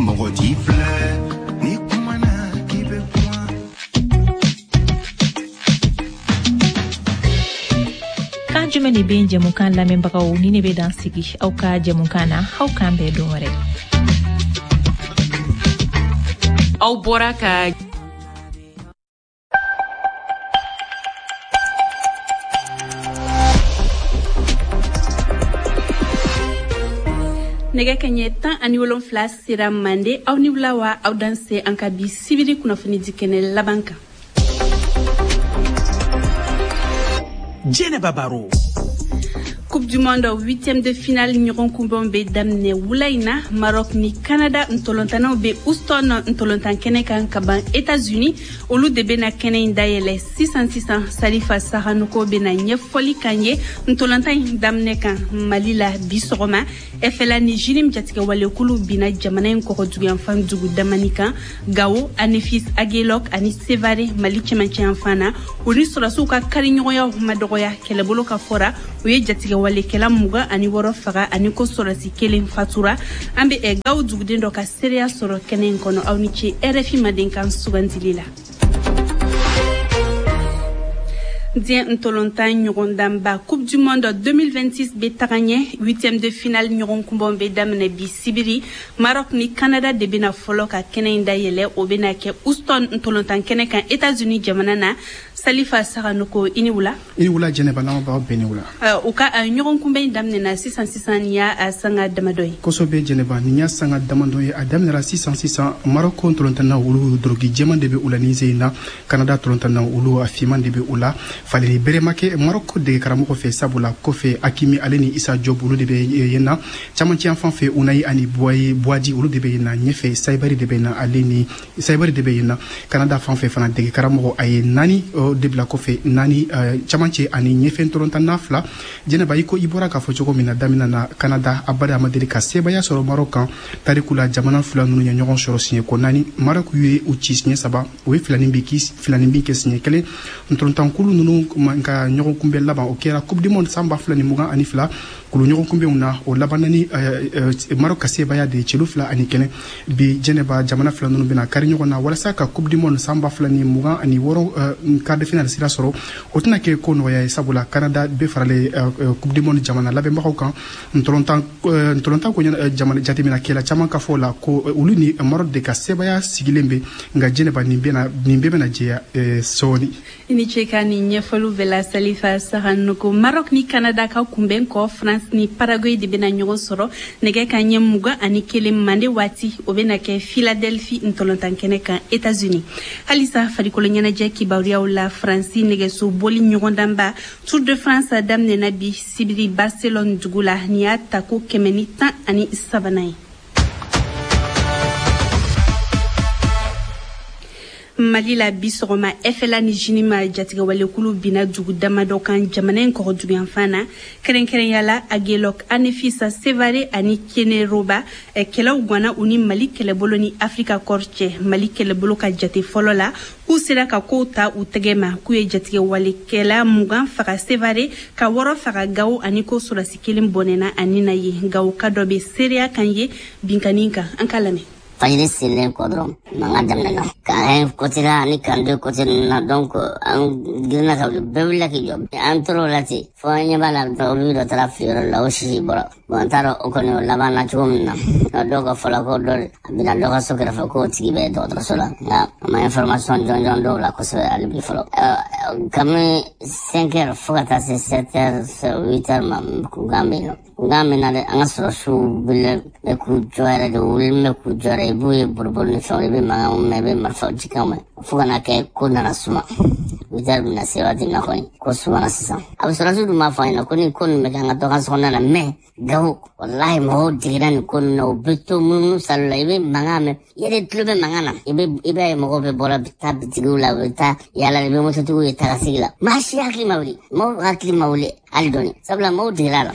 mɔgɔ t'i filɛ ni kumana k'i bɛ kuma. Kan jumɛn de bɛ yen jɛmukan lamɛnbagaw ni ne bɛ dan sigi aw ka jɛmukan na, aw k'an bɛn don wɛrɛ. Aw bɔra ka Nɛgɛ kɛɲɛ 17 sera mande. Aw ni wula wa, aw danse an ka bi sibiri kunnafoni di kɛnɛ laban kan. Jɛnɛba Baro. Coupe du monde huitième de finale ɲɔgɔn kunbɛnw bɛ daminɛ wula in na. Maroc ni Canada ntolontannaw bɛ Houston ntolontan kɛnɛ kan ka ban États-Unis. Olu de bɛna kɛnɛ in dayɛlɛ sisan sisan. Salifa Sahanoko bɛna ɲɛfɔli kan ye ntolontan in daminɛ kan. Mali la bi sɔgɔma, FLA ni JNIM jatigɛwalekulu binna jamana in kɔgɔduguyanfan dugu damani kan, Gawo, Anefis, Aguelhok ani Sevare, Mali cɛmancɛyanfan na. U ni sɔrɔdasiw ka kariɲɔgɔnyaw ma dɔgɔya. Kɛlɛbolo ka fɔra, u ye jatigɛwalekɛla 26 faga ani ko sɔrɔdasi kelen fatura. An bɛ Gawo duguden dɔ ka seereya sɔrɔ kɛnɛ in kɔnɔ. Aw ni ce RFI Mandenkan sugandili la. Diɲɛ ntolontan ɲɔgɔndanba Coupe du monde 2026 bɛ taga ɲɛ. Huitième de finale ɲɔgɔn kunbɛnw bɛ daminɛ bi sibiri. Maroc ni Canada de bɛna fɔlɔ ka kɛnɛ in dayɛlɛ. O bɛna kɛ Houston ntolontan kɛnɛ kan, États-Unis jamana na. Salifa Saganoko, i ni wula. I ni wula Jɛnɛba, lamɛnbagaw bɛɛ ni wula. U ka ɲɔgɔn kunbɛn in daminɛna sisan sisan, nin y'a sanga damadɔ ye. Kosɛbɛ Jɛnɛba, nin y'a sanga damadɔ ye, a daminɛra sisan sisan. Maroc ntolontannaw, olu doroki jɛman de bɛ u la nin sen in na. Canada ntolontannaw, olu a finman de bɛ u la. Falenni bere ma kɛ Maroc dege karamɔgɔ fɛ, sabula kɔfɛ Hakimi ale ni Issa Diop, olu de bɛ yen na. Camancɛ fan fɛ, Ounahi ani Bouaddi, olu de bɛ yen na. Ɲɛfɛ, Saibari de bɛ yen na, ale ni Saibari de bɛ yen na. Canada fan fɛ fana, dege karamɔgɔ a ye naani de bila kɔfɛ, naani camancɛ ani ɲɛfɛ ntolontanna fila. Jɛnɛba, i ko i bɔra k'a fɔ cogo min na daminɛ na, Canada abada ma deli ka sebaaya sɔrɔ Maroc kan tariku la. Jamana fila ninnu ye ɲɔgɔn sɔrɔ siɲɛ ko naani. Maroc ye u ci siɲɛ saba, o ye filanin bin kɛ siɲɛ kelen. Ntolontankulu ninnu ka ɲɔgɔn kunbɛn laban, o kɛra Coupe du monde san 2022 kulu ɲɔgɔn kunbɛnw na. O laban ni Maroc ka sebaaya de ye, celu 2-1. Bi Jɛnɛba, jamana fila ninnu bɛna kari ɲɔgɔn na walasa ka Coupe du monde san 2026 quart de finale sira sɔrɔ. O tɛna kɛ ko nɔgɔya ye, sabula Canada bɛ faralen Coupe du monde jamana labɛnbagaw kan. Ntolontan ko jamana jateminɛkɛla caman ka fɔ la ko olu ni Maroc de ka sebaaya sigilen bɛ. Nka Jɛnɛba, nin bɛɛ bɛna jɛya sɔɔni. I ni ce ka nin ɲɛfɔliw bɛɛ la, Salifa Sahanoko. Maroc ni Canada ka kunbɛn kɔ, France ni Paraguay de bɛna ɲɔgɔn sɔrɔ nɛgɛ ka ɲɛ 21 mande waati. O bɛna kɛ Philadelphie ntolontan kɛnɛ kan, États-Unis. Halisa farikolo ɲɛnajɛ kibaruyaw la, Faransi nɛgɛso boli ɲɔgɔndanba Tour de France daminɛna bi sibiri Barcelone dugu la. Nin y'a tako 113nan ye. Mali la bi sɔgɔma, FLA ni JNIM jatigɛwalekulu binna dugu damadɔ kan jamana in kɔgɔduguyanfan na, kɛrɛnkɛrɛnya la Aguelhok, Anefis, Sevare ani Keneroba. Kɛlɛw ganna u ni Mali kɛlɛbolo ni Africa Corps cɛ. Mali kɛlɛbolo ka jate fɔlɔ la, k'u sera ka kow ta u tɛgɛ ma, k'u ye jatigɛwalekɛla 20 faga Sevare, ka wɔɔrɔ faga Gawo, ani ko sɔrɔdasi kelen bɔnɛna ani na ye. Gawo ka dɔ bɛ seereya kan ye binkanni kan, an ka lamɛn. Fajiri selen kɔ dɔrɔn, mankan daminɛna camp 1 côté la ani camp 2 côté ninnu na. Donc an girinna ka wuli, bɛɛ wulila k'i jɔ. An tor'o la ten fo an ɲɛ b'a la, olu dɔ taara fili yɔrɔ la, o sisi bɔra. Bon, an t'a dɔn o kɔni o laban na cogo min na. Dɔw ka fɔ la ko dɔ a bɛna dɔ ka so kɛrɛfɛ, k'o tigi bɛ dɔgɔtɔrɔso la, nka a ma information jɔnjɔn dɔw la kosɛbɛ hali bi fɔlɔ. Kabini 5 heures fo ka taa se 7 heures, 8 heures ma, kunkan bɛ yen nɔ. Kunkan bɛ na dɛ, an ka sɔrɔdasiw wulilen bɛ k'u jɔ yɛrɛ de, wulilen bɛ k'u jɔ yɛrɛ. I b'u ye boliboli ni fɛnw, i bɛ mankanw mɛn, i bɛ marifaw cikanw mɛn, fo ka na kɛ ko nana suma. 8 heures bɛna se waati min na kɔni, ko sumana sisan. A bɛ sɔrɔdasiw dun b'a fɔ an ɲɛna ko ni ko ninnu bɛ kɛ, an ka dɔ ka sokɔnɔna na. Mais Gawo, walahi, mɔgɔw digira nin ko ninnu na, u bɛ to munumunu salo la. I bɛ mankan mɛn, i yɛrɛ tulo bɛ mankan na, i b'a ye mɔgɔw bɛ bɔra taa bitigiw la, u bɛ taa yaala, i bɛ mototigiw ye tagasigi la. Maa si hakili ma wuli, mɔgɔw hakili ma wuli hali dɔɔni, sabula mɔgɔw digira a la.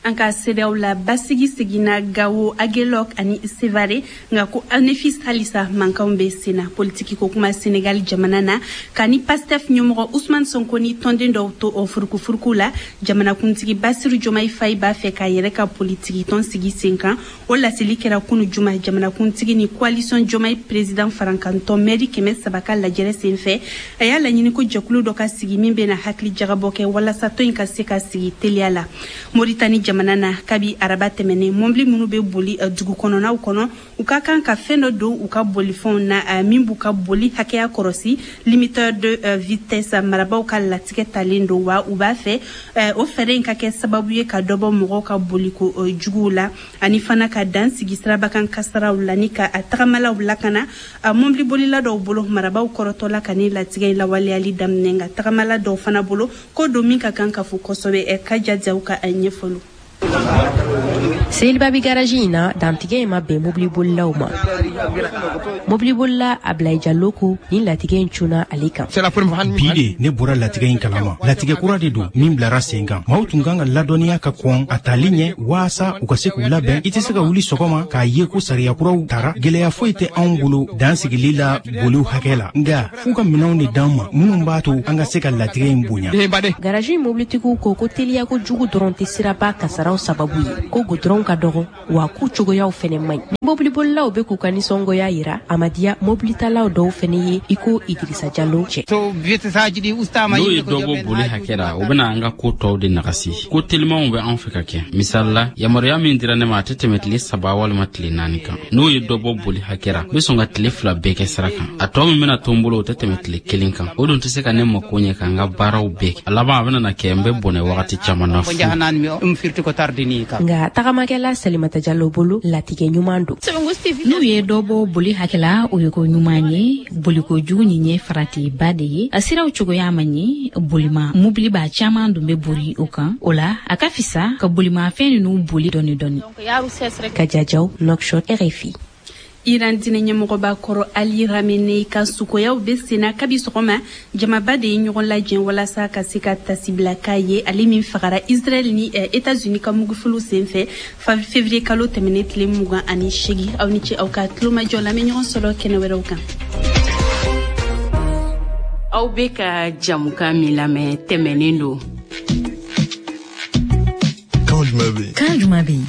An ka CEDEAO la basigi seginna Gawo, Aguelhok ani Sevare, nka ko Anefis halisa mankanw bɛ senna. Politiki ko kuma, Senegal jamana na, ka ni Pastef ɲɛmɔgɔ Ousmane Sonko ni tɔnden dɔw to o furukufuruku la, jamanakuntigi Basiru Jomayi Fayi b'a fɛ k'a yɛrɛ ka politiki tɔn sigi sen kan. O laseli kɛra kunu juma jamanakuntigi ni coalition Jomayi président farankantɔn mɛri 300 ka lajɛrɛ senfɛ. A y'a laɲini ko jɛkulu dɔ ka sigi min bɛna hakili jagabɔ kɛ walasa tɔn in ka se ka sigi teliya la. Moritani jamana na, kabi araba tɛmɛnen, mɔbili minnu bɛ boli dugu kɔnɔnaw kɔnɔ, u ka kan ka fɛn dɔ don u ka bolifɛnw na min b'u ka boli hakɛya kɔrɔsi, limiteur de vitesse. Marabaw ka latigɛ talen don wa u b'a fɛ o fɛɛrɛ in ka kɛ sababu ye ka dɔ bɔ mɔgɔw ka boliko juguw la, ani fana ka dan sigi sirabakan kasaraw la ni ka tagamalaw lakana. Mɔbili bolila dɔw bolo, marabaw kɔrɔtɔla ka ni latigɛ in lawaleyali daminɛ, nka tagamala dɔw fana bolo, ko don min ka kan ka fo kosɛbɛ. Ka jajaw ka ɲɛfɔlu. Selibabi garaji in na, dantigɛ in ma bɛn mobilibolilaw ma. Mobilibolila Ablaye Jalo ko nin latigɛ in cunna ale kan. Bi de ne bɔra latigɛ in kalama. Latigɛ kura de don min bilara sen kan. Maaw tun kan ka ladɔnniya ka kɔn a tali ɲɛ waasa u ka se k'u labɛn. I tɛ se ka wuli sɔgɔma k'a ye ko sariya kuraw tara. Gɛlɛya foyi tɛ anw bolo dan sigili la boliw hakɛ la, nka f'u ka minɛnw de d'an ma minnu b'a to an ka se ka latigɛ in bonya. Garaji in mobilitigiw ko ko teliyako jugu dɔrɔn tɛ siraba kasaraw sababu ye, ko gudɔrɔnw ka dɔgɔ wa k'u cogoyaw fɛnɛ man ɲi. Mobilibolilaw bɛ k'u ka nisɔngoya yira, a ma diya mobilitalaw dɔw fɛnɛ ye i ko Idirisa Jalo cɛ. N'o ye dɔ bɔ boli hakɛ la, o bɛna an ka ko tɔw de nagasi. Ko telimanw bɛ an fɛ ka kɛ. Misali la, yamaruya min dira ne ma, a tɛ tɛmɛ tile 3 walima tile 4 kan. N'o ye dɔ bɔ boli hakɛ la, n bɛ sɔn ka tile 2 bɛɛ kɛ sira kan. A tɔ min bɛna to n bolo, o tɛ tɛmɛ tile 1 kan. O dun tɛ se ka ne mako ɲɛ ka n ka baaraw bɛɛ kɛ. A laban a bɛna na kɛ n bɛ bɔnɛ wagati caman na fu. Nka tagamakɛla Salimata Jalo bolo, latigɛ ɲuman don. N'u ye dɔ bɔ boli hakɛ la, o ye ko ɲuman ye. Boliko jugu nin ye faratiba de ye. A siraw cogoya man ɲi, bolima mobiliba caman dun bɛ bori o kan. O la a ka fisa ka bolimafɛn ninnu boli dɔɔni dɔɔni. Ka Jajaw, Nouakchott, RFI. Iran diinɛ ɲɛmɔgɔba kɔrɔ Ali Khamenei ka sukoyaw bɛ senna kabi sɔgɔma. Jamaba de ye ɲɔgɔn lajɛ walasa ka se ka tasibila k'a ye, ale min fagara Israël ni États-Unis ka mugufiliw senfɛ février kalo tɛmɛnen tile 28. Aw ni ce aw ka tulomajɔ la, an bɛ ɲɔgɔn sɔrɔ kɛnɛ wɛrɛw kan. Aw bɛ ka jamukan min lamɛn tɛmɛnen don. Kan jumɛn bɛ yen? Kan jumɛn bɛ yen?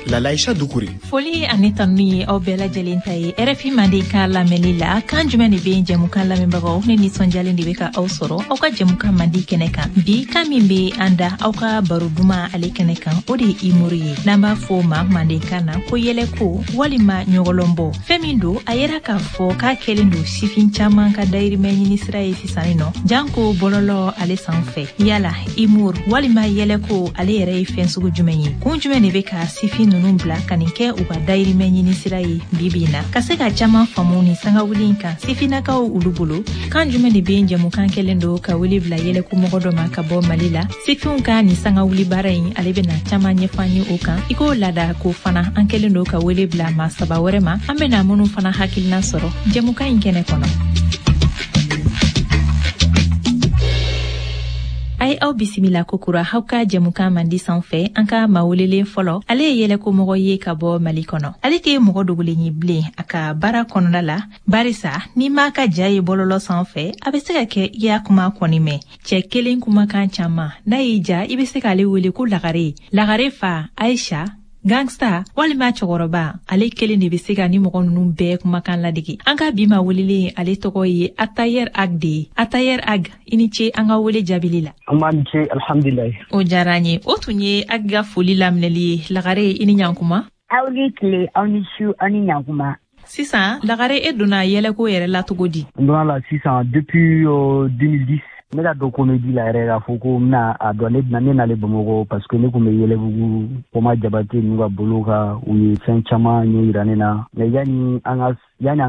Lalaïcha Doucouré. Foli ani tanu ye aw bɛɛ lajɛlen ta ye RFI Mandenkan lamɛnli la. Kan jumɛn de bɛ yen jɛmukan lamɛnbagaw? Ne nisɔndiyalen de bɛ ka aw sɔrɔ aw ka jɛmukan mandi kɛnɛ kan. Bi kan min bɛ an da aw ka baro duman ale kɛnɛ kan, o de ye humour ye, n'an b'a fɔ o ma mandenkan na ko yɛlɛko walima ɲɔgɔlɔnbɔ. Fɛn min don, a yera k'a fɔ k'a kɛlen don sifin caman ka dayirimɛ ɲini sira ye sisan nɔ, janko bɔlɔlɔ ale sanfɛ. Yala humour walima yɛlɛko ale yɛrɛ ye fɛn sugu jumɛn ye? Kun jumɛn de bɛ ka sifin ninnu bila ka nin kɛ u ka dayirimɛ ɲini sira ye bi bi in na? Ka se ka caman faamu ni sangawuli in kan sifinnakaw olu bolo, kan jumɛn de bɛ yen jɛmukan kɛlen don ka wele bila yɛlɛkomɔgɔ dɔ ma ka bɔ Mali la. Sifinw ka nin sangawuli baara in, ale bɛna caman ɲɛfɔ an ye o kan. I k'o laada ko fana, an kɛlen don ka wele bila maa 3 wɛrɛ ma, an bɛna minnu fana hakilina sɔrɔ jɛmukan in kɛnɛ kɔnɔ. A ye aw bisimila kokura aw ka jɛmukan mandi sanfɛ. An ka maa welelen fɔlɔ, ale ye yɛlɛkomɔgɔ ye ka bɔ Mali kɔnɔ. Ale tɛ mɔgɔ dogolen ye bilen a ka baara kɔnɔna la, barisa n'i m'a ka ja ye bɔlɔlɔ sanfɛ, a bɛ se ka kɛ i y'a kuma kɔni mɛn. Cɛ kelen kumakan caman, n'a y'i ja, i bɛ se k'ale wele ko Lagare, Lagare fa Aisha, gangsta walima cɛkɔrɔba. Ale kelen de bɛ se ka ni mɔgɔ ninnu bɛɛ kumakan ladege. An ka bi ma welelen, ale tɔgɔ ye Atayer Ag de ye. Atayer Ag, i ni ce an ka wele jaabili la. An b'a ni ce, alhamdulilayi. O diyara an ye. O tun ye Ag ka foli laminɛli ye. Lagare, i ni ɲankuma. Aw ni tile, aw ni su, aw ni ɲankuma. Sisan Lagare, e donna yɛlɛko yɛrɛ la cogo di? N donna la sisan depuis 2010. Ne ka dɔn comédie la yɛrɛ k'a fɔ ko n bɛna a dɔn, ne bɛna ne nalen Bamakɔ parce que ne tun bɛ Yɛlɛbugu Kɔma Jabate ninnu ka bolo kan, u ye fɛn caman ɲɛ yira ne na. Mais yanni an ka se yan, an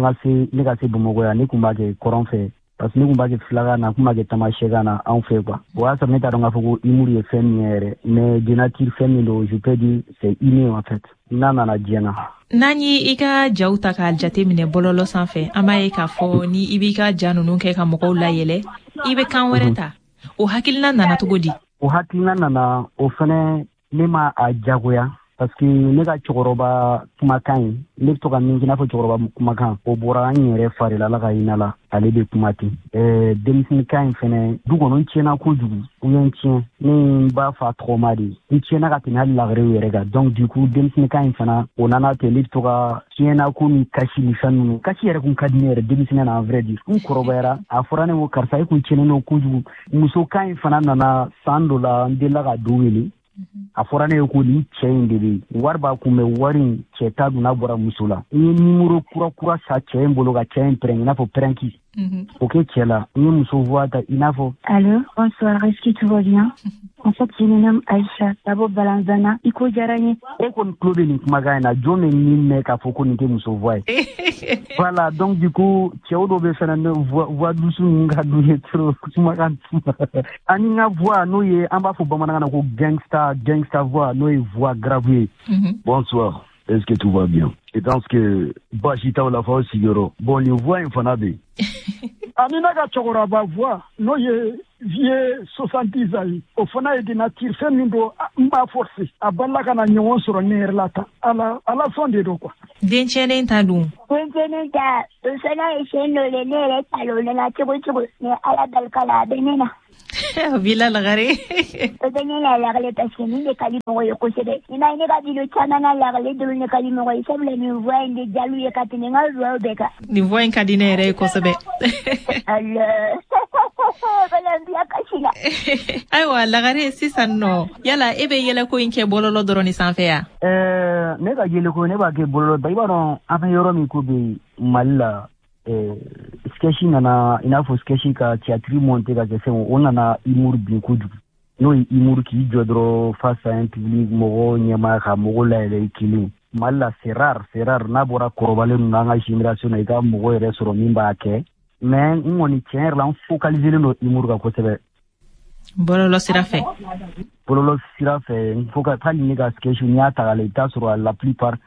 ka se ne ka se Bamakɔ yan, ne tun b'a kɛ kɔrɔn fɛ parce que ne tun b'a kɛ filakan na, n tun b'a kɛ tamasɛkan na anw fɛ quoi. O y'a sɔrɔ ne t'a dɔn k'a fɔ ko humour ye fɛn min ye yɛrɛ, mais de nature fɛn min don, je peux dire c'est inné en fait, n'a nana diɲɛ na. N'an ye i ka jaw ta k'a jate minɛ bɔlɔlɔ sanfɛ, an b'a ye k'a fɔ ni i b'i ka ja ninnu kɛ ka mɔgɔw layɛlɛ, i bɛ kan wɛrɛ ta. O hakilina nana cogo di? O hakilina nana, o fɛnɛ ne ma a jagoya, parce que ne ka cɛkɔrɔba kumakan ye, ne bɛ to ka min kɛ, i n'a fɔ cɛkɔrɔba kumakan, o bɔra an yɛrɛ fari la, Ala ka hinɛ la, ale bɛ kuma ten. Denmisɛnninkan in fɛnɛ, du kɔnɔ n tiɲɛna kojugu, u ye n tiɲɛ, ne ye n ba fa tɔgɔma de ye, n tiɲɛna ka tɛmɛ hali lagarew yɛrɛ kan. Donc du coup denmisɛnninkan in fana, o nana ten, ne bɛ to ka tiɲɛna ko ni kasi ni fɛn ninnu. Kasi yɛrɛ kun ka di ne yɛrɛ denmisɛnnin na, en vrai dire. N kɔrɔbayara, a fɔra ne ko karisa, e kun tiɲɛnen don kojugu. Musokan in fana nana san dɔ la, n delila ka du wele. A fɔra ne ye ko nin cɛ in de bɛ yen, wari b'a kun bɛ, wari in cɛ ta dun n'a bɔra muso la. N ye nimoro kura kura sa cɛ in bolo ka cɛ in pɛrɛn, i n'a fɔ pɛrɛnki. O kɛ cɛ la, n ye muso voix ta, i n'a fɔ. Allô, bonsoir, est-ce que tout va bien? En fait, je me nomme Aïcha, d'abord Balanzana, i ko diyara n ye. E kɔni tulo bɛ nin kumakan in na, jɔn bɛ nin mɛn k'a fɔ ko nin tɛ muso voix ye? Voilà, donc du coup, cɛw dɔw bɛ fɛnɛ ne voix douce ninnu ka d'u ye trop, kumakan. Ani n ka voix, n'o ye an b'a fɔ bamanankan na ko gangsta, gangsta voix, n'o ye voix grave ye. Bonsoir, est-ce que tout va bien? Je pense que baasi t'aw la f'aw sigiyɔrɔ. Bon, nin voix in fana bɛ yen. Ani ne ka cɛkɔrɔba voix, n'o ye vieux 70 ans ye, o fana ye de nature fɛn min don, n b'a forcer, a balila ka na ɲɔgɔn sɔrɔ ne yɛrɛ la tan. Ala ala sɔn de don quoi. Den tiɲɛnen ta dun? Den tiɲɛnen ta, o fana ye fɛn dɔ le, ne yɛrɛ t'a lɔn ne na cogo cogo, mais Ala barika la, a bɛ ne na. A b'i la lagare. O bɛ ne la lagare, parce que nin de ka di mɔgɔ ye kosɛbɛ. I m'a ye, ne ka vidéo caman na, lagare dɔrɔn de ka di mɔgɔ ye, sabula nin voix in de diyal'u ye ka tɛmɛ n ka voix bɛɛ kan. Nin voix in ka di ne yɛrɛ ye kosɛbɛ. Ala bala n bila kasi la. Ayiwa lagare, sisan nɔ, yala e bɛ yɛlɛko in kɛ bɔlɔlɔ dɔrɔn ni sanfɛ ya? Ne ka yɛlɛko, ne b'a kɛ bɔlɔlɔ ba. I b'a dɔn an bɛ yɔrɔ min ko bi Mali la, sketch nana, i n'a fɔ sketch ka théâtre monter ka kɛ fɛn, o nana humour bin kojugu. N'o ye humour k'i jɔ dɔrɔn face à un public, mɔgɔw ɲɛma ka mɔgɔw layɛlɛ i kelen. Mali la, c'est rare, c'est rare, n'a bɔra kɔrɔbalen ninnu, an ka génération na, i ka mɔgɔ yɛrɛ sɔrɔ min b'a kɛ. Mais n kɔni, tiɲɛ yɛrɛ la, n focaliser don humour kan kosɛbɛ. Bɔlɔlɔ sira fɛ. Bɔlɔlɔ sira fɛ, n fo ka hali ne ka sketch, n'i y'a ta k'a lajɛ, i bɛ taa sɔrɔ la plupart,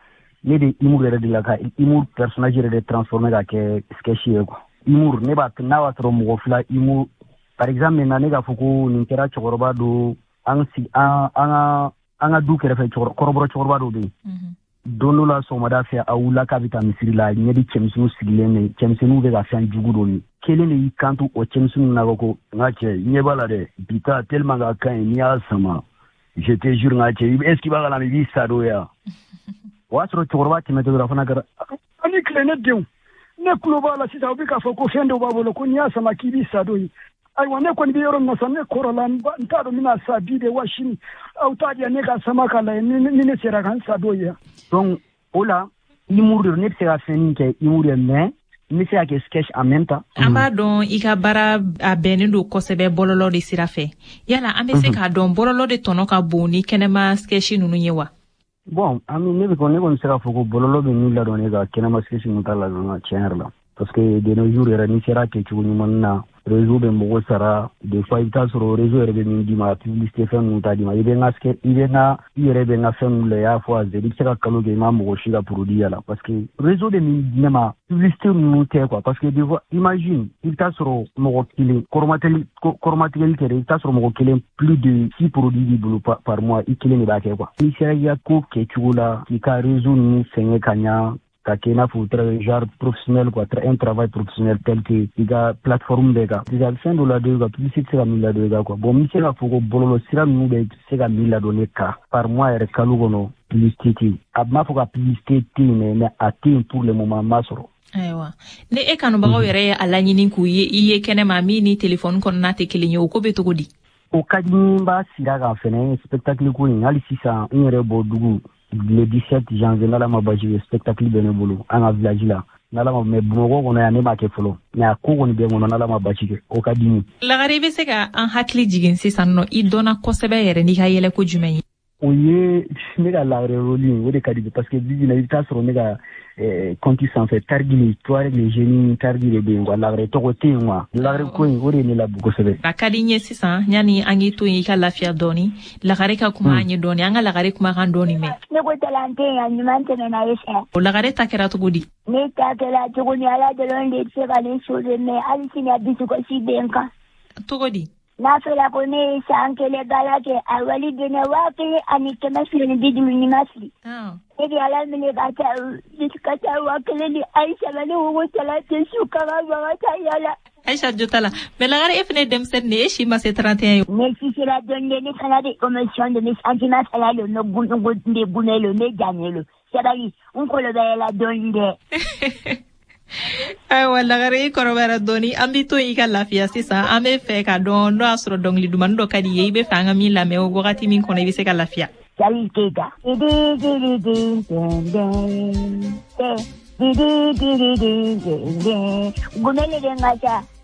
ne bɛ humour yɛrɛ de la, ka humour personnage yɛrɛ de transformer ka kɛ sketch ye quoi. Humour, ne b'a, n'a b'a sɔrɔ mɔgɔ fila humour, par exemple maintenant, ne k'a fɔ ko nin kɛra cɛkɔrɔba do, an sigi an an ka an ka du kɛrɛfɛ, kɔrɔbɔrɔ cɛkɔrɔba dɔ bɛ yen. Don dɔ la, sɔgɔmada fɛ, a wulila k'a bɛ taa misiri la, ɲɛ bɛ cɛmisɛnninw sigilen bɛ, cɛmisɛnninw bɛ ka fɛn jugu dɔ min. Kelen de y'i kanto o cɛmisɛnninw na ko: N ka cɛ, ɲɛ b'a la dɛ, bi ta tellement ka ka ɲi, n'i y'a sama, je te jure, n ka cɛ, est ce que i b'a kalama, i b'i sa don ya. O y'a sɔrɔ cɛkɔrɔba tɛmɛtɔ dɔrɔn, a fana kɛra. Ani tile, ne denw, ne tulo b'a la sisan, u bɛ k'a fɔ ko fɛn dɔ b'a bolo ko n'i y'a sama k'i b'i sa don ye. Ayiwa, ne kɔni bɛ yɔrɔ min na sisan, ne kɔrɔla, n t'a dɔn n bɛna sa bi de wa sini. Aw t'a diya ne ka sama k'a lajɛ ni ne sera ka n sa don ye. Donc o la, humour de don, ne bɛ se ka fɛn min kɛ humour ye, mais n bɛ se ka kɛ sketch en même temps. An b'a dɔn i ka baara a bɛnnen don kosɛbɛ bɔlɔlɔ de sira fɛ. Yala an bɛ se k'a dɔn bɔlɔlɔ de tɔnɔ ka bon ni kɛnɛma sketch ninnu ye wa? Bon, ami, ne bɛ ne kɔni se k'a fɔ ko bɔlɔlɔ bɛ min ladɔn ne ka kɛnɛma sketch ninnu t'a ladɔn, tiɲɛ yɛrɛ la. Parce que de nos jours yɛrɛ, n'i sera kɛcogo ɲuman na, réseau bɛ mɔgɔ sara. Des fois, i bɛ taa sɔrɔ réseau yɛrɛ bɛ min d'i ma, publicité fɛn ninnu t'a d'i ma. I bɛ n ka i bɛ n ka i yɛrɛ bɛ n ka fɛn ninnu la, i y'a fɔ a i bɛ se ka kalo kɛ, i ma mɔgɔ si ka produit y'a la, parce que réseau bɛ min di ne ma, publicité ninnu tɛ quoi. Parce que des fois, imagine, i bɛ taa sɔrɔ mɔgɔ kelen, kɔrɔmatigɛli kɔrɔmatigɛli tɛ dɛ, i bɛ taa sɔrɔ mɔgɔ kelen, plus de six produits b'i bolo par mois, i kelen de b'a kɛ quoi. N'i sera i ka ko kɛcogo la, k'i ka réseau ninnu fɛngɛ ka ɲa, ka kɛ i n'a fɔ très genre professionnel quoi, un travail professionnel tel que i ka plateforme bɛɛ kan, a bɛ fɛn dɔ ladon i kan, publicité tɛ se ka min ladon i kan quoi. Bon, n bɛ se k'a fɔ ko bɔlɔlɔ sira ninnu bɛ se ka min ladon ne kan par mois yɛrɛ, kalo kɔnɔ, publicité tɛ yen. A m'a fɔ ka publicité tɛ yen, mais a tɛ yen pour le moment, n m'a sɔrɔ. Ayiwa, ni e kanubagaw yɛrɛ ye a laɲini k'u ye i ye kɛnɛma min ni telefɔni kɔnɔna tɛ kelen ye, o ko bɛ cogo di? O ka di n b'a sira kan fɛnɛ, spectacle ko in. Hali sisan, n yɛrɛ bɔ dugu, le 17 janvier, n'Ala ma basi kɛ, spectacle bɛ ne bolo an ka village la, n'Ala ma. Mais Bamakɔ kɔnɔ yan, ne m'a kɛ fɔlɔ, mais a ko kɔni bɛ n kɔnɔ, n'Ala ma basi kɛ, o ka di n ye. Lagare, i bɛ se ka an hakili jigin sisan nɔ, i dɔnna kosɛbɛ yɛrɛ n'i ka yɛlɛko jumɛn ye? O ye ne ka lagare rôle ye, o de ka di, parce que bi bi in na, i bɛ taa sɔrɔ ne ka compte sanfɛ, Targui, Touareg le génie Targui de bɛ yen quoi, lagare tɔgɔ tɛ yen quoi. Lagare ko in, o de ye ne labu kosɛbɛ. A ka di n ye sisan, yanni an k'i to yen, i ka lafiya dɔɔni, lagare ka kuma an ye dɔɔni, an ka lagare kumakan dɔɔni mɛn. Ne ko talante a ɲuman tɛmɛna ye fɛ. O lagare ta kɛra cogo di? Ne ta kɛra cogo ni, Ala dɔrɔn de bɛ se ka ne sauver, mais hali sini a dusukasi bɛ n kan. Cogo di? N'a fɔra ko ne ye san 1 baara kɛ, a wari bɛnna 1250 ni ma fili. Ne de Ala minɛ ka taa ka taa 1000 di Ayisa ma, ne ko ko tala tɛ su ka ka baga taa yala. Aïcha jo t'a la, mais Lagare, e fana ye denmisɛnnin de ye, e si ma se 31 ye. Ne si sera dɔɔnin de, ne fana bɛ émotion de, ne sentiment fana lo, ne gun ne gunɛ lo, ne jannen lo. Sabali, n kɔrɔbayala dɔɔnin dɛ. Ayiwa Lagare, i kɔrɔbayara dɔɔni, an b'i to i ka lafiya. Sisan an bɛ fɛ ka dɔn n'o y'a sɔrɔ dɔnkili dumani dɔ ka di ye, i bɛ fɛ an ka min lamɛn o wagati min kɔnɔ, i bɛ se ka lafiya. Salif Keita. Di di di di di di di di di di di di. Gumele de n ka ca.